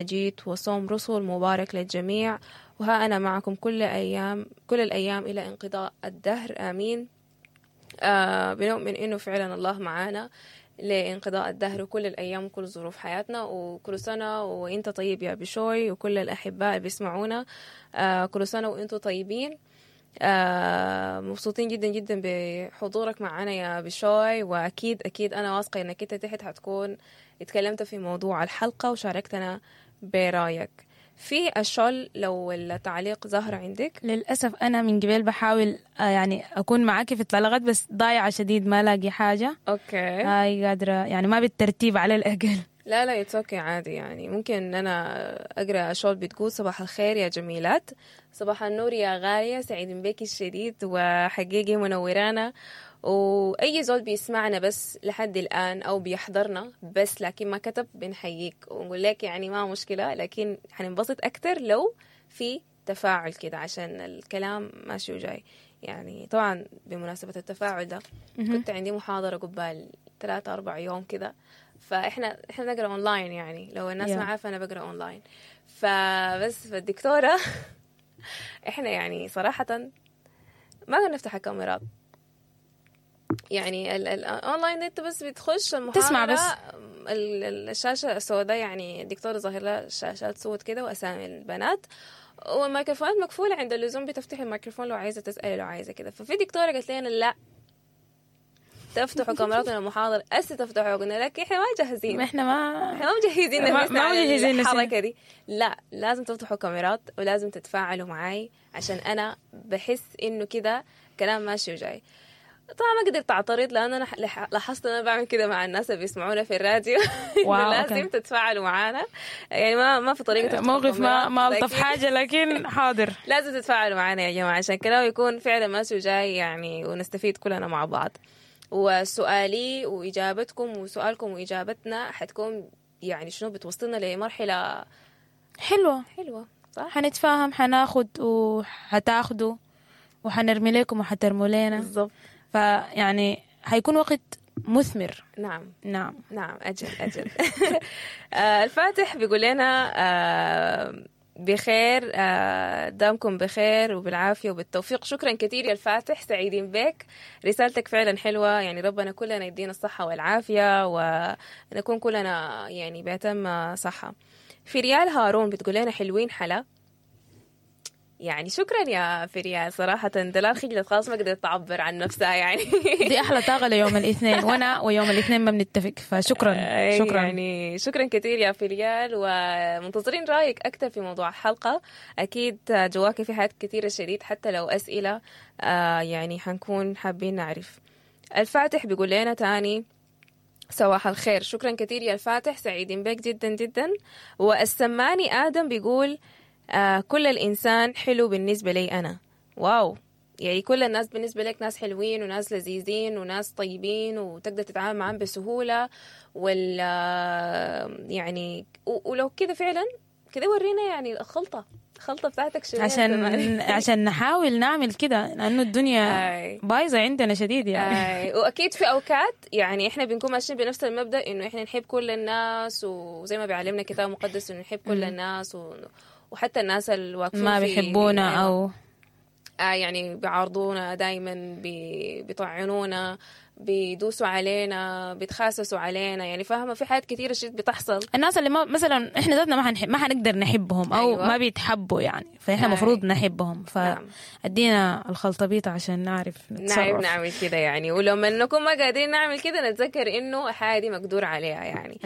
مجيد وصوم رسل مبارك للجميع، وها أنا معكم كل الأيام إلى انقضاء الدهر، آمين. بنؤمن إنه فعلا الله معانا لانقضاء الدهر وكل الأيام وكل ظروف حياتنا. وكل سنة وإنت طيب يا بشوي، وكل الأحباء اللي بيسمعونا، كل سنة وإنتوا طيبين. مبسوطين جدا جدا بحضورك معنا يا بشوي، وأكيد أكيد أنا واثقة إنك إنت تحت حتكون اتكلمت في موضوع الحلقة وشاركتنا برايك في الشول. لو التعليق ظهر عندك. للأسف أنا من قبل بحاول يعني أكون معاكي في التعليقات، بس ضايعة شديد، ما لاقي حاجة. هاي قادرة يعني، ما بالترتيب على الأقل. لا لا، it's okay، عادي يعني. ممكن ان انا اقرا شول. بتقول: صباح الخير يا جميلات. صباح النور يا غالية، سعيد بك الشديد وحقيقي منورانا. واي زول بيسمعنا بس لحد الان او بيحضرنا بس لكن ما كتب، بنحييك ونقول لك يعني ما مشكلة، لكن حننبسط اكتر لو في تفاعل كده عشان الكلام ماشي وجاي يعني. طبعا بمناسبة التفاعل ده، كنت عندي محاضرة قبال 3 4 يوم كده، فاحنا نقرا اونلاين، يعني لو الناس ما عارفه انا بقرا اونلاين. فبس فالدكتوره، احنا يعني صراحه ما نفتح الكاميرات، يعني الاونلاين انت بس بتخش المحاضره تسمع بس. الشاشه السوداء، يعني الدكتوره ظاهر لها شاشات سود كده واسامي البنات، والميكروفونات مقفوله، عند اللزوم بتفتحي الميكروفون لو عايزه تسالي، لو عايزه كده. ففي دكتوره قالت لنا: لا، تفتحوا كاميرات المحاضرة هسه تفتحوا. قلنا لك احنا ما جاهزين. احنا ما احنا ما مجهزين نفسنا ما على مجهزين نفسنا. الحركة دي. لا، لازم تفتحوا كاميرات ولازم تتفاعلوا معاي عشان انا بحس انه كده كلام ماشي وجاي. طبعا ما قدرت اعترض لان انا لاحظت ان انا بعمل كده مع الناس اللي بيسمعونا في الراديو، إنه لازم تتفاعلوا معانا، يعني ما في طريقه تفتحوا موقف ما كاميرات، ما الطف حاجة، لكن حاضر. لازم تتفاعلوا معانا يا جماعة عشان كلامه يكون فعلا ماشي وجاي يعني، ونستفيد كلنا مع بعض. وسؤالي وإجابتكم وسؤالكم وإجابتنا حتكون يعني شنو، بتوصلنا لمرحلة حلوة. حلوة، صح؟ حنتفاهم، حناخد وحتاخدوا وحنرمي لكم وحترموا لنا. فيعني حيكون وقت مثمر. نعم. نعم. نعم، أجل أجل. الفاتح بيقول لنا بخير، دامكم بخير وبالعافية وبالتوفيق. شكرا كثير يا الفاتح، سعيدين بك، رسالتك فعلا حلوة. يعني ربنا كلنا يدينا الصحة والعافية ونكون كلنا يعني بأتم صحة. في ريال هارون بتقول لنا حلوين حلا. يعني شكرا يا فريال. صراحة دلال خجلت خلاص، ما قدرت تعبر عن نفسها يعني. دي احلى طاقه ليوم الاثنين، وانا ويوم الاثنين ما بنتفق، فشكرا. شكرا. يعني شكرا كثير يا فريال، ومنتظرين رايك اكثر في موضوع الحلقه. اكيد جواك في حاجات كثيره شديد، حتى لو اسئله، يعني حنكون حابين نعرف. الفاتح بيقول لنا تاني صباح الخير. شكرا كثير يا الفاتح، سعيدين بك جدا جدا. والسماني آدم بيقول كل الإنسان حلو بالنسبة لي أنا. wow، يعني كل الناس بالنسبة لك ناس حلوين وناس لذيذين وناس طيبين وتقدر تتعامل معهم بسهولة، ولا يعني ولو كده فعلا كده ورينا يعني الخلطة بتاعتك شنو يا عشان سماني؟ عشان نحاول نعمل كده، لانه الدنيا بايظه عندنا شديد يعني. واكيد في اوقات يعني احنا بنكون ماشيين بنفس المبدا، انه احنا نحب كل الناس، وزي ما بيعلمنا الكتاب المقدس انه نحب كل الناس وحتى الناس الواقفين ما في بيحبونا. او يعني بيعارضونا دائما، بيطعنونا، بيدوسوا علينا، بيتخاسسوا علينا، يعني فاهمه، في حاجات كثيره شديد بتحصل. الناس اللي ما مثلا احنا ذاتنا ما حنقدر نحبهم او ما بيتحبوا يعني، فاحنا المفروض نحبهم. فادينا الخلطبيطه عشان نعرف نتصرف. نعمل كده يعني، ولما نكون ما قادرين نعمل كده نتذكر انه الحاجه دي مقدور عليها يعني.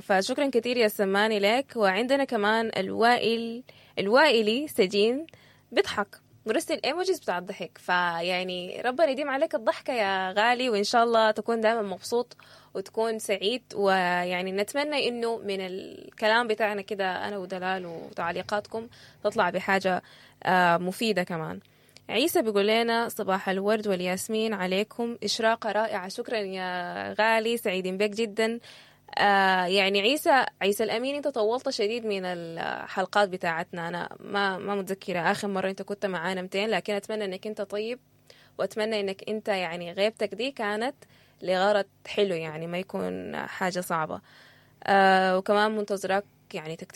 فشكرا كثير يا سماني لك. وعندنا كمان الوائل الوائلي سجين بيضحك، مرسل emojis بتاع الضحك، فيعني ربنا يديم عليك الضحكة يا غالي، وإن شاء الله تكون دائما مبسوط وتكون سعيد. ويعني نتمنى إنه من الكلام بتاعنا كده أنا ودلال وتعليقاتكم تطلع بحاجة مفيدة. كمان عيسى بيقول لنا صباح الورد والياسمين عليكم، إشراقة رائعة. شكرا يا غالي، سعيدين بك جدا. يعني عيسى، عيسى الأمين، أنت طولت شديد من الحلقات بتاعتنا. أنا ما متذكرة آخر مرة أنت كنت معانا 200، لكن أتمنى أنك أنت طيب، وأتمنى أنك أنت يعني غيبتك دي كانت لغرض حلو، يعني ما يكون حاجة صعبة. وكمان منتظرك. يعني تكتب